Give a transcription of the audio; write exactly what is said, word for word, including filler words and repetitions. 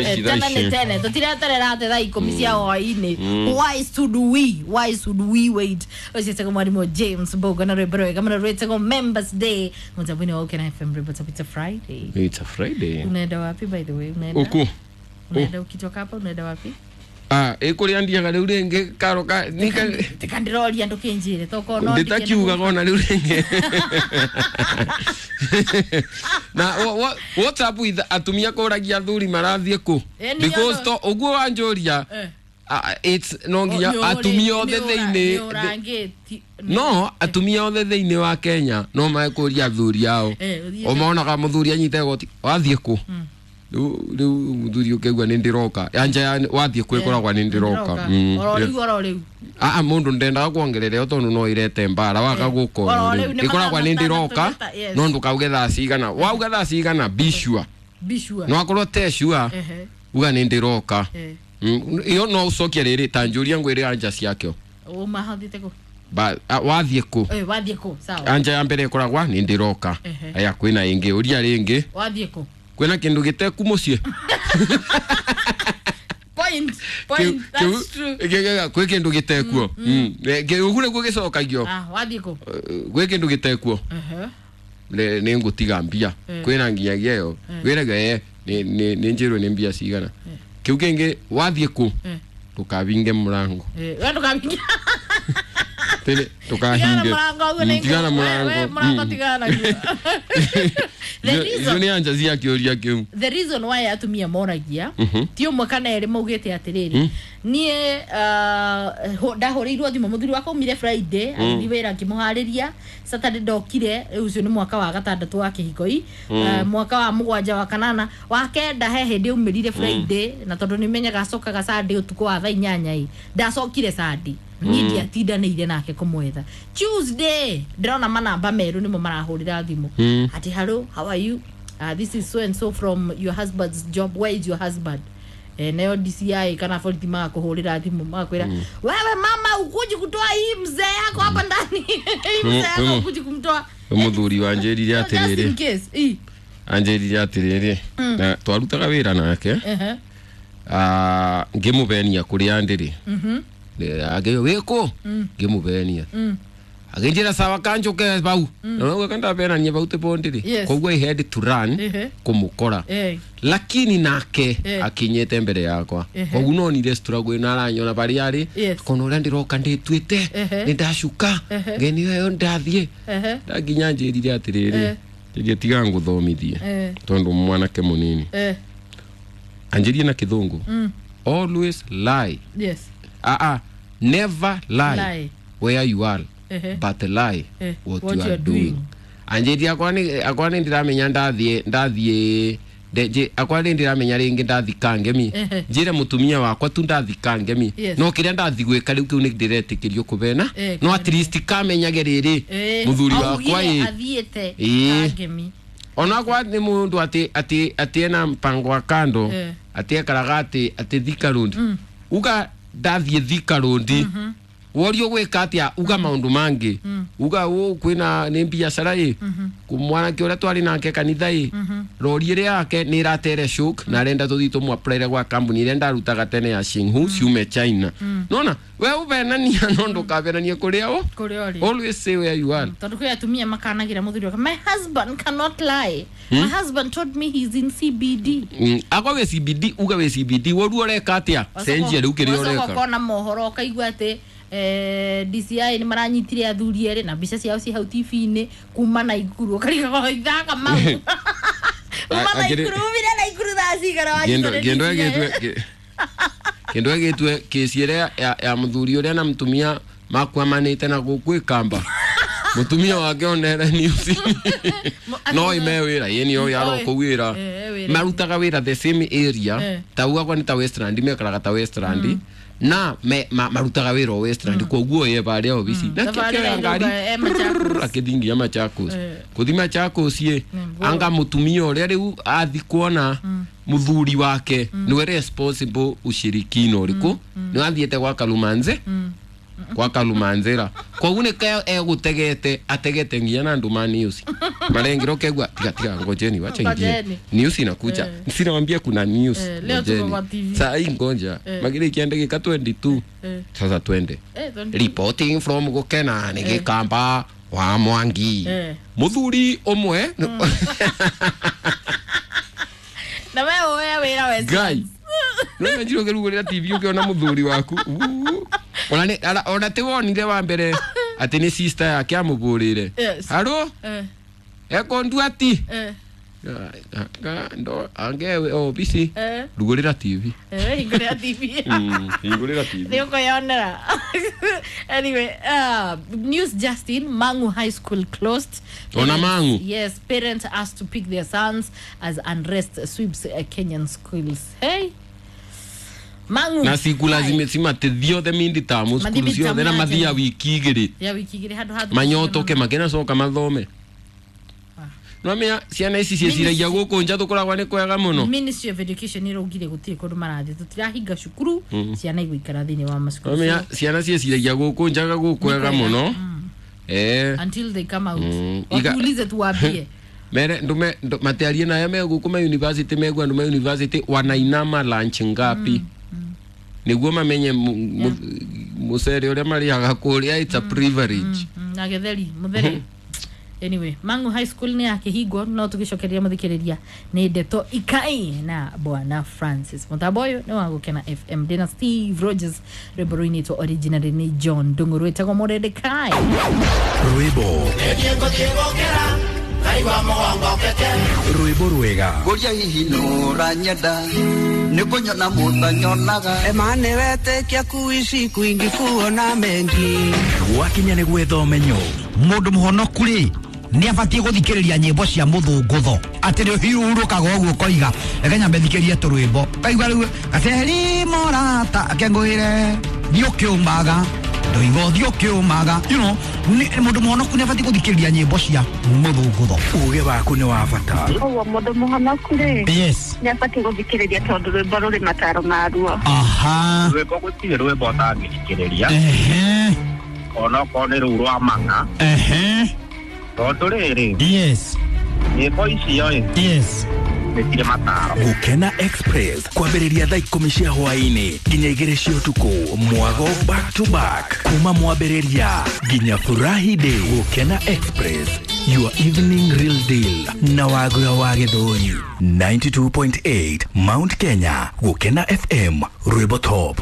Tene nĩ tene tũtireterera atĩ thaa ikũmi cia hwaĩ-inĩ. Why should we why should we wait? Ũcio mwarimũ James Mbogo na rwĩmbo rwega mũno rwĩtagwo Members Day mũtambo-inĩ wa Ukena F M. Rwĩmbo it's a Friday. It's a Friday. Unaenda wapi by the way? Unaenda uku unaenda ukitoka hapa unaenda wapi? Ah, ikuria ndiaga riu ringi karo ka nika tikandiroria ndukinjire toko no nditakiuga gona riu ringi. Na what's up with atumia kuragia athuri marathie ku? Because to uguo wanjuria it's no nginya atumia othe thiini no atumia othe thiini wa Kenya no maekuria athuri ao umonaga muthuri anyite goti wathie ku riu riu muthuri ukegua ni ndiroka anja wathie kwikoragwa ni ndiroka oro riu oro riu a a mundu ndendaga kuongerera tondu no irete mbara waga guko ikoragwa ni ndiroka no ndukauge thaa cigana wauga thaa cigana be sure be sure no akorwo te sure uga ni ndiroka iyo no ucokie riri ta njuria ngwire anja ciakio uma hathite ku ba wathie ku eh wathie ku sawa anja ya mbere ikoragwa ni ndiroka aya kwina ingi uria ringi wathie ku kwina kindu giteku mucie point point that's true kwi kindu gitekuo ugu niguo gicokagio ah wathie ku kwi kindu gitekuo ehe ni ngutiga mbia kwina nginyagia iyo wiraga eh ni ni njirwe ni mbia cigana kiu kingi wathie ku tukavinge murango eh we tukavinge tene tukahinge tigana murango murango tigana the reason ni anja cia kiuria kiu the reason why atumia moragia ti umwe kana eri maugite atiriri nie ndahurirwo thimu muthuri wakwa umire Friday agithi wira ngimuhariria Saturday ndokire ucio ni mwaka wa gatandatu wa kihiko mwaka wa mugwanja wa kanana wa kenda he hindi umirire Friday na tondu ni menyaga acokaga Sunday utuku wa thaa inyanya i ndacokire Sunday ni ndiatindanĩire nake kũmwetha Tuesday ndĩrona manamba meru nĩmo marahũrĩra thimũ ati hello how are you uh, this is so and so from your husband's job where is your husband eh nayo D C I kana borithi magakuhũrĩra thimũ magakwĩra wewe mama ukuji kutoa hii mzee yako hapa ndani hii mzee yako ukuji kumtoa muthuri wanjĩrire atĩrĩrĩ anjĩrire atĩrĩrĩ na twarutaga wĩra nake ah ngĩmũbenia kũrĩa ndĩrĩ mhm agĩo wĩkũ ngĩmũbenia agĩnjĩra sawa kanjũke bau no gweka ndabenania bau tĩbondĩrĩ koguo I had to run kũmũkora lakini nake akinyĩte mbere yakwa koguo no nire struggle ĩno aranyona barĩa arĩ kono ũrĩa ndĩroka ndĩtuĩte nĩ ndacuka ngeni ĩyo ndathiĩ ndakinya njĩrire atĩrĩrĩ njĩrie tiga ngũthomithie tondũ mwanake mũnini anjĩrie na kĩthũngũ always lie yes ah ah never lie, lie where you are uh -huh. but lie uh, what, what you are doing. Anjiri akwa ni akwa ni ndiramenya ndathie ndathie nje akwa ni ndiramenya ringi ndathika ngemi njire mutumia wakwa tu ndathika ngemi no kiria ndathi gwika riu kiu ni ndiretikirio kubena no at least kamenyage riri muthuri wakwa i athiete ngemi ona kwa ni mundu ati ati ati ena mpango wa kando ati ekaraga ati ati Thika Road uga ndathie Thika Road worio gwika atia uga maundu mangi uga u kwina ni biacara i kumwanake uria twari nake kanitha i rori ria yake ni iratere shook na arenda tuthi tumwaplaire gwa kambuni iria ndarutaga tene ya Xinghu ciume China nona we ubenania no ndukabenanie kuria u always say where you are tondu kwi atumia makanagira muthuri wake my husband cannot lie my husband told me he's in C B D akwa we C B D uga we C B D woru ureka atia cenjia riu kiria ureka ukona mohoro ukaigua ati eh D C I ni maranyitire athuri ere na mbica ciao ci hau T V-inĩ kuma na Naikuru ukariga ithaka mau kuma na Naikuru umire Naikuru thaa cigana wanyitire kindu egitwe kindu egitwe kesi ĩrĩa ya muthuri ũrĩa na mutumia makwamanĩte na gũkũ Ikamba mutumia wake onere news no ime wĩra yeni yo yaro kũ wĩra marutaga wĩra the same area ta ugakwa ni ta Westland mekaraga ta Westland na me ma, marutaga wĩra o Westland koguo ye baria obisi na kĩoya ngari akĩthingia Machakos kuthi Machakos ye anga mutumia ũrĩa rĩu athi kuona muthuri wake niwe responsible ushirikino ũrĩkũ nĩ wathiĩte gwa Kalumanze Kwa Kalumanzira koguo nĩ ka egũtegete ategete nginya na andũ ma news marengiro kegua tiga tiga ngojeni wacha ingie Ngojeni. News inakuja. Eh. Sinawambia kuna news. Eh, leo tuko Ngojeni. kwa T V. Saa hii ngoja Eh. magire ikiandĩgĩka twenty-two. Eh. Sasa twende. Eh, twenty-two. Reporting from Gukena nĩ Gĩkamba wa Mwangi. Eh. Mũthuri ũmwe Na we woya wĩra we. Ngai nĩmenjire ũkĩrugũrĩra T V ũkĩona mũthuri waku. Uu. Ona nĩ- ara- ona ti wonire wa mbere atĩ nĩ sister yake amũbũrĩre. Yes. Haro Eh, ekondu ati eh, ndo angewe obisi eh, rugũrĩra T V. eh, hingũrĩra T V. Mm, hingũrĩra T V. Nĩ ũkwĩyonera. Anyway, uh, news Justin, Mangu High School closed. Ona Parents- Mangu? Yes, parents asked to pick their sons as unrest sweeps uh, Kenyan schools. Hey. Mangu. Na cikula High. cimate thiothe mindi tamu Mathi cukuru ciothe na mid-term mathia ya wiki igĩrĩ ya wiki igĩrĩ handũ ha manyotoke makĩnacoka mathome. Nwamenya ciana ici ciĩciragia gũkũ nja tũkoragwo nĩ kwega mũno. Ministry of Education ĩraugire gũtirĩ kũndũ marathiĩ, tũtirahinga cukuru, ciana igũikara thĩinĩ wa macukuru. Nwamenya ciana ciĩciragia gũkũ njaga gũkwega mũno eh Until they come out. Mm, iga- Watuulize tuwaambie. Mere ndume ndu- matiarie nayo me gũkũ ma university megua andũ ma university wanainama lunch ngapi nĩguo mamenye mu- mu- mũcere ũrĩa marĩaga kũrĩa, it's a privilege. Mm, na gĩtheri mũtheri. Anyway, Mangu High School nĩ yakĩhingwo no tũgĩcokeria mũthikĩrĩria nĩ ndeto ikai na bwana Francis. Mũtambo ũyũ nĩ wa Gũkena F M, ndĩna Steve Rogers, rwĩmbo rũinĩtwo originally nĩ John Ndung'u rwĩtagwo Mũrendekai. Rwĩmbo rwĩmbo rwega. Ngũria hihi nũranyenda nĩ kũnyona mũtanyonaga. Emane wetĩkia kuishi kwingi kuona mengi. Gwakinya nĩ gwetha ũmenyo. Mũndũ mũhonoku rĩ nĩ abatiĩ gũthikĩrĩria nyĩmbo cia mũthũngũtho atĩ nĩ ũhiũrũkaga ũguo ũkoiga reke nyambe thikĩrie tũrwĩmbo kaigua rĩu gaceri morata akengũĩre thiĩ ũkĩũmaga ndoiga ũthiĩ ũkĩũmaga, you know, nĩ- mũndũ mũhonoku nĩ abatiĩ gũthikĩrĩria nyĩmbo cia mũthũngũtho. Uge waku nĩ wa bata. Ũguo mũndũ mũhonoku rĩ yes nĩ abatiĩ gũthikĩrĩria tondũ rwĩmbo rũrĩ mataro maruo. Aha. Rwĩmbo gũtirĩ rwĩmbo ũtangĩthikĩrĩria ehe onokorwo nĩ rũu rwa mang'a ehe tondũ rĩrĩ yes nyĩmbo icio ĩ yes nĩ cirĩ mataro. Gũkena Express kwambĩrĩria thaa ikũmi cia hwaĩ-inĩ nginya igĩrĩ cia ũtukũ, mwago back to back kuma mwambĩrĩria nginya furahi day. Gũkena Express, your evening real deal na wagura wa Gĩthũri ninety-two point eight Mount Kenya. Gũkena F M, rwĩmbo top.